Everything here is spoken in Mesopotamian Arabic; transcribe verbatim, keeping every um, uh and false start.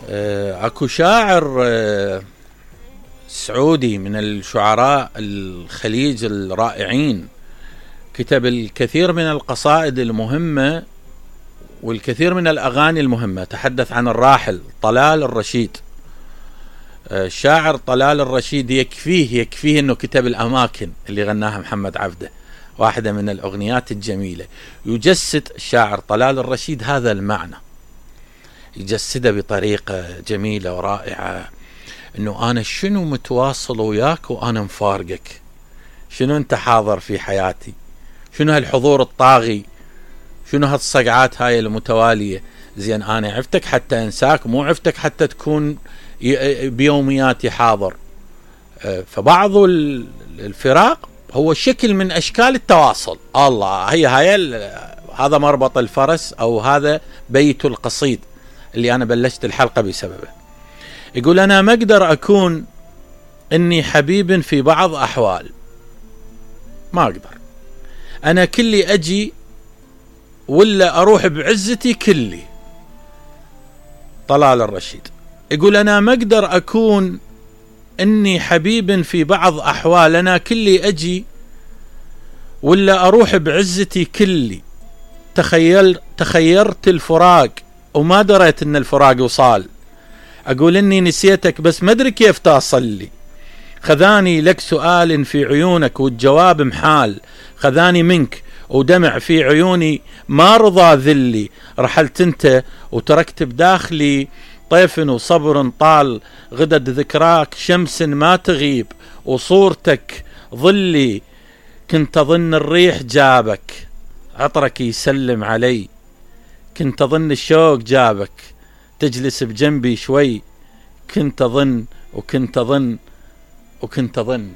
اكو شاعر سعودي من الشعراء الخليج الرائعين، كتب الكثير من القصائد المهمة والكثير من الأغاني المهمة. تحدث عن الراحل طلال الرشيد. الشاعر طلال الرشيد يكفيه يكفيه أنه كتب الأماكن اللي غناها محمد عبده، واحدة من الأغنيات الجميلة. يجسد الشاعر طلال الرشيد هذا المعنى، يجسده بطريقة جميلة ورائعة، أنه أنا شنو متواصل وياك وأنا مفارقك، شنو أنت حاضر في حياتي، شنو هالحضور الطاغي، شنو هالصقعات هاي المتوالية. زين أنا عفتك حتى أنساك، مو عفتك حتى تكون بيومياتي حاضر. فبعض الفراق هو شكل من أشكال التواصل. الله، هي هاي هذا مربط الفرس، أو هذا بيت القصيد اللي أنا بلشت الحلقة بسببه. يقول أنا ما أقدر أكون إني حبيب في بعض أحوال، ما أقدر أنا كلي أجي ولا أروح بعزتي كلي. طلال الرشيد يقول أنا ما أقدر أكون إني حبيب في بعض أحوال، أنا كلي أجي ولا أروح بعزتي كلي. تخيل تخيرت الفراق وما دريت إن الفراق وصال، أقول إني نسيتك بس ما أدري كيف تصل لي. خذاني لك سؤال في عيونك والجواب محال، خذاني منك ودمع في عيوني ما رضى ذلي. رحلت انت وتركت بداخلي طيف وصبر طال، غدد ذكراك شمس ما تغيب وصورتك ظلي. كنت أظن الريح جابك عطرك يسلم علي، كنت أظن الشوق جابك تجلس بجنبي شوي. كنت أظن وكنت أظن وكنت أظن